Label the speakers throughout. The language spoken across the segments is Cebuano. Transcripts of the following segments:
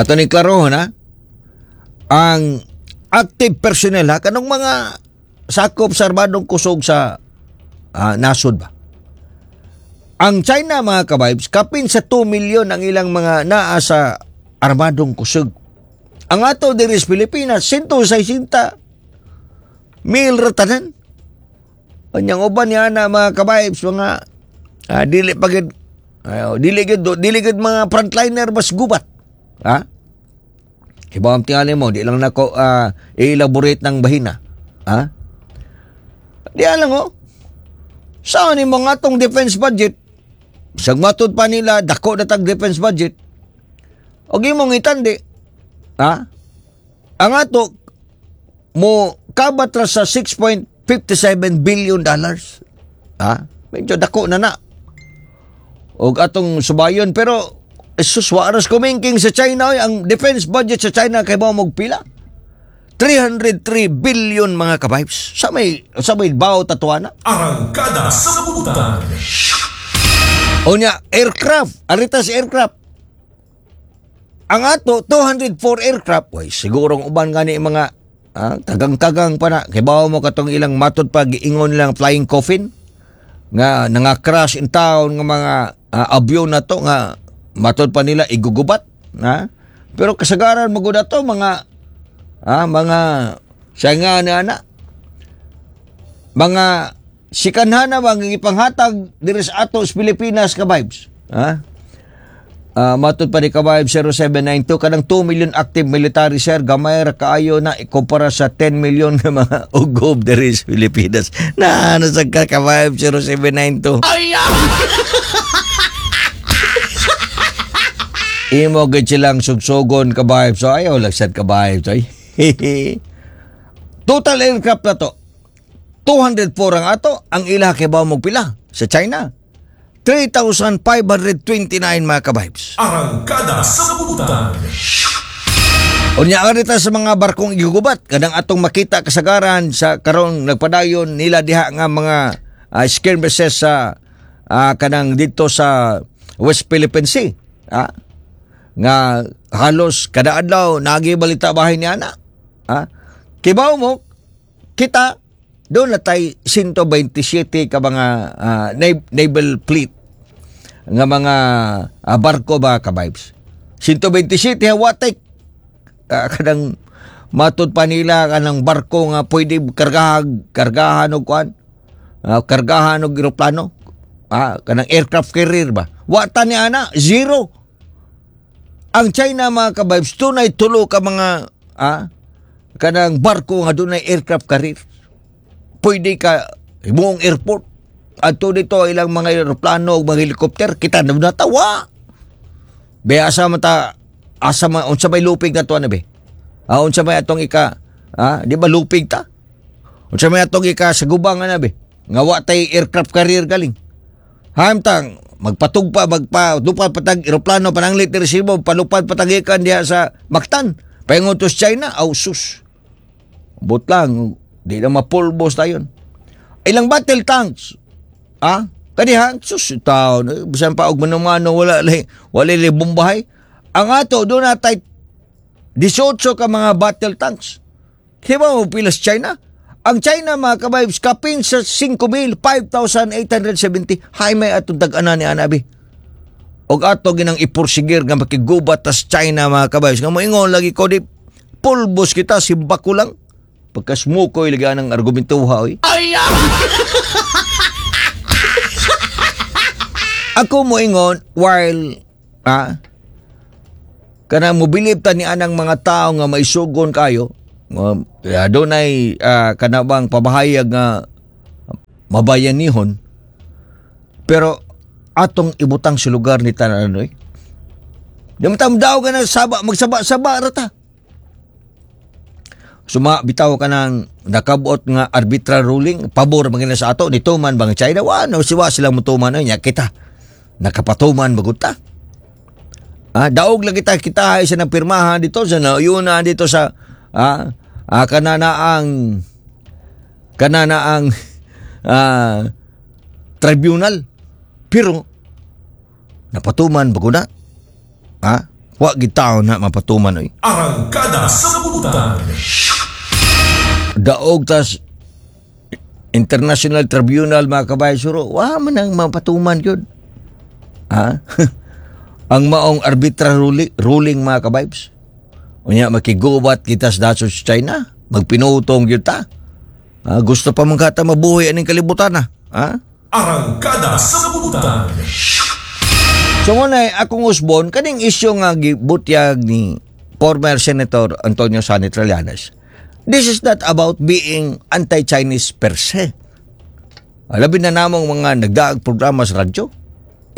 Speaker 1: Ato ni klarohon ha. Ang active personnel ha, kanong mga sakop sa armadong kusog sa nasod ba. Ang China, mga kabibes, kapin sa 2 milyon ang ilang mga naa sa armadong kusog. Ang ato diri sa Pilipinas, 160 mil ra tanan. Kanyang uban niya na, mga kabibes, mga dili pa gid dili gid mga frontliner bas gubat. Ha? Kibaw ang tingali mo, di lang nako i-elaborate ng bahina. Ha? Di lang oh. Saan ni mga atong defense budget? Sa matud pa nila, dako na tag defense budget. O imong itandi. Ha? Ang ato, mo kabat ra sa $6.57 billion. Ha? Medyo dako na na. Og atong subayon, pero sus, wa ras kumingking sa China oy. Ang defense budget sa China kay ba mo pila? 303 billion, mga kabibes. Sa may bawo tatuana.
Speaker 2: Arangkada sa Butan.
Speaker 1: Unya, aircraft, arita sa aircraft. Ang ato 204 aircraft. Way, siguro ang uban gani mga kagang-kagang pa na. Kay bawo mo katong ilang matod pa giingon lang flying coffin nga nanga-crash in town nga mga abyon na to nga matod pa nila igugubat, ha? Pero kasagaran magud ato mga mga siya nga na ana mga sikanhana bang ipanghatag diri sa ato sa Pilipinas ka vibes, ha? Matod pa ni Kabayab 0792, kanang 2 million active military, sir, gamay ra kaayo na ikumpara sa 10 million nga mga ugob diri sa Pilipinas. Na ano sa ka, Kabayab 0792? Imo gid silang sugsugon, kabayab. So ayaw lang sad, kabayab. So, total aircraft na to. 204 ang ato, ang ila kay ba mo pila sa China? 3,529, mga kabibes.
Speaker 2: Arangkada sa Butan.
Speaker 1: Unya arita sa mga barkong igugubat kanang atong makita kasagaran sa karon nagpadayon nila diha nga mga skirmishes sa kanang dito sa West Philippine Sea. Ah, nga halos kada adlaw nagi balita bahin niya na. Ah, kibaw mo kita doon na tay 127 ka mga naval fleet nga mga barko ba, ka-vibes. 127 wa tay kanang matud pa nila kanang barko nga pwede kargahan kargahan og kuan, kargahan og eroplano, kanang aircraft carrier ba. Wa ta ni ana, zero. Ang China, mga kabibes, dunay tulo ka mga kanang barko nga dunay aircraft carrier, pwede ka buong airport adto dito ilang mga eroplano ug mga helicopter. Kita na natawa be, asa man ta, asa man, unsa may lupig na to ano be, unsa may atong ika, di ba lupig ta, unsa may atong ika sa gubang ana be nga wa tay aircraft carrier galing hamtang magpatugpa, magpa lupad patag eroplano pananglit diri Cebu, palupad patagikan diha sa Mactan paingon to sa China. Aw sus, but lang di na mapulbos tayon. Ilang battle tanks, kaniha sus taon, bisan pa og manumano, wala lay wala lay bombahay. Ang ato doon natay 18 ka mga battle tanks. Kiba mo pila sa China? Ang China, mga kabibes, kapin sa 5,000, 5,870. Hay may atong dag-ana ni Anabi. Og ato ginang ipursigir nga makigubat tas China, mga kabibes. Nga moingon lagi ko di pulbos kita, simbako lang. Pagkasmukoy lagi ang argumentuha oy. Ako moingon while kana mobilib ta ni anang mga tao nga maisugon kayo nga dunay kanabang pabahayag nga mabayanihon, pero atong ibutang sa lugar ni tanan oy. Di mo daw ka na saba, magsaba-saba ra ta. Suma bitaw ka ng nakabot nga arbitral ruling pabor man sa ato, nituman bang China? Wa no siwa sila motuman nya kita nakapatuman bagud ta. Daog lang kita kita ay sa napirmahan dito sa nauyuna dito sa kanana ang tribunal, pero napatuman bago na. Wa gid taon na mapatuman oy.
Speaker 2: Arangkada sa Butan.
Speaker 1: Daog tas International Tribunal, mga kabayan, suro wa man ang mapatuman gyud. Ha? Ang maong arbitral ruling, mga kabibes. Unya makigubat kita sa nasod sa China, magpinutong gyud ta. Ha? Gusto pa man kata mabuhi aning kalibutan na. Ha?
Speaker 2: Arangkada sa Butan.
Speaker 1: So ngunay akong usbon kaning isyu nga gibutyag ni former Senator Antonio Sonny Trillanes. This is not about being anti-Chinese per se. Labi na namong mga nagdaag programa sa radyo.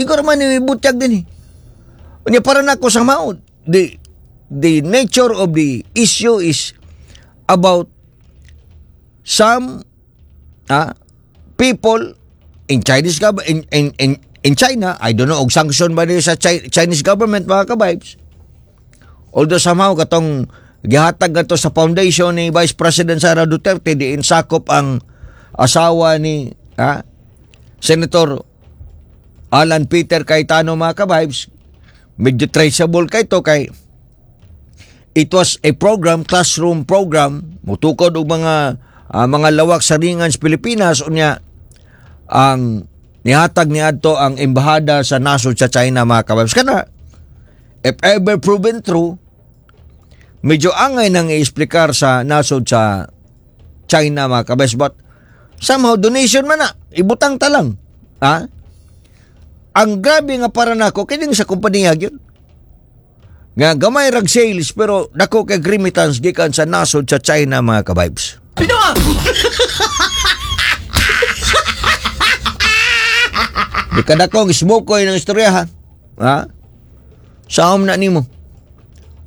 Speaker 1: Ikaw naman ni butyag din eh. Unya para nako sa maod. The nature of the issue is about some people in Chinese government in China. I don't know og sanction ba niya sa Chinese government, mga kabibes. Although somehow katong gihatag ato sa foundation ni Vice President Sara Duterte, diin sakop ang asawa ni Senator Alan Peter Cayetano, mga kabibes, medyo traceable kay to kay it was a program, classroom program, mutukod og mga lawak sa ringan sa Pilipinas. Unya ang nihatag niadto ang embahada sa nasod sa China, mga kabibes. Kana if ever proven true, medyo angay nang i-explicar sa nasod sa China, mga kabibes, but somehow donation man na ibutang ta lang, ha. Ang grabe nga para nako kining sa kompanya gyud nga gamay rag sales pero dako kay remittance gikan sa nasod sa China, mga kabibes.
Speaker 3: Pino!
Speaker 1: Di ka dako smoke ko ng istorya, ha. Ha? Saom na nimo.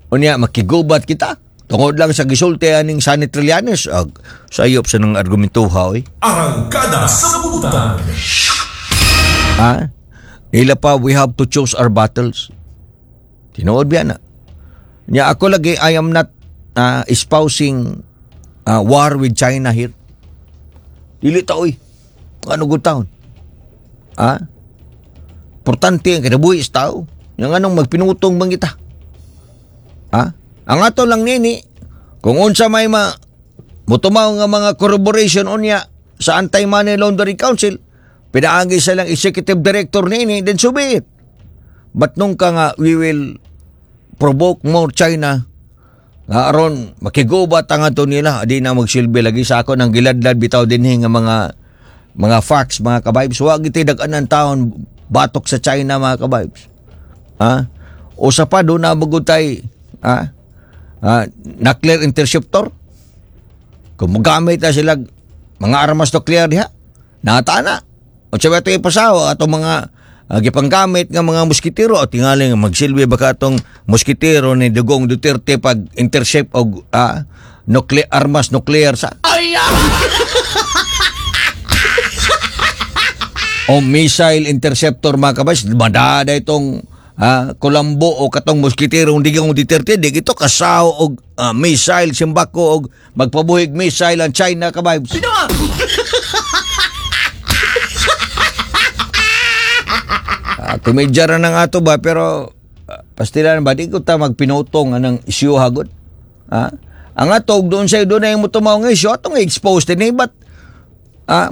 Speaker 1: Unya makigubat kita tungod lang sa gisulti aning Sonny Trillanes ag sayop sa nang argumentuha oy.
Speaker 2: Arangkada sa Butan.
Speaker 1: Ha? Ila pa, we have to choose our battles. Tinuod biya na. Nya ako lagi, I am not espousing war with China here. Dili ta oy. Ano gud taon? Ha? Importante ang kinabuhi sa tao. Yang anong magpinutong bang kita? Ha? Ang ato lang nini, kung unsa may ma mutumaw nga mga corroboration unya sa Anti-Money Laundering Council, pinaagi sa lang executive director nini, then so be it. But nung ka nga we will provoke more China nga aron makigubat ang ato nila, di na magsilbi lagi sa ako ng giladlad bitaw dinhi nga mga facts, mga kabibes. Wa giti dag-anan taon batok sa China, mga kabibes, ha. Usa pa do na magutay, ha, nuclear interceptor kung mogamit na sila mga armas nuclear diha nata na o sabi ito ipasaw atong mga gipanggamit nga mga moskitero at tingali nga magsilbi baka atong moskitero ni Dugong Duterte pag intercept og nuclear armas nuclear sa o missile interceptor, mga kabas. Madada itong kulambo o katong moskitero ng Digong Duterte di ito kasaw og missile simbako og magpabuhig missile ang China, kabibes.
Speaker 3: Pino!
Speaker 1: Komedya ra ng ato ba, pero pastilan ba di ko ta magpinutong anang issue hagod. Ha? Ang ato og doon sa doon na yung mutumaw nga issue atong expose din eh, but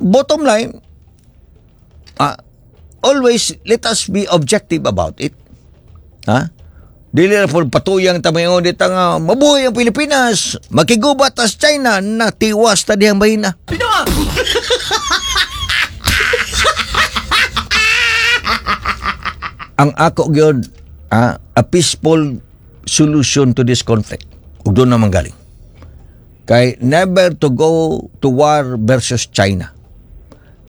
Speaker 1: bottom line, always let us be objective about it. Ha? Dili na po patuyang tamayon dito nga mabuhay ang Pilipinas, makigubat as China na tiwas ta diyang bahina.
Speaker 3: Pino!
Speaker 1: Ang ako gyud, a peaceful solution to this conflict ug doon naman galing kay never to go to war versus China,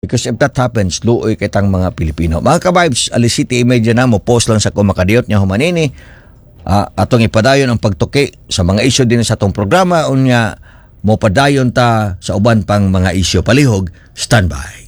Speaker 1: because if that happens, luoy kitang mga Pilipino, mga kabibes. Alas 7:30 na mo post lang sa kumakadiyot niya humanini, atong ipadayon ang pagtuki sa mga isyu din sa atong programa. Unya mo padayon ta sa uban pang mga isyu. Palihog standby.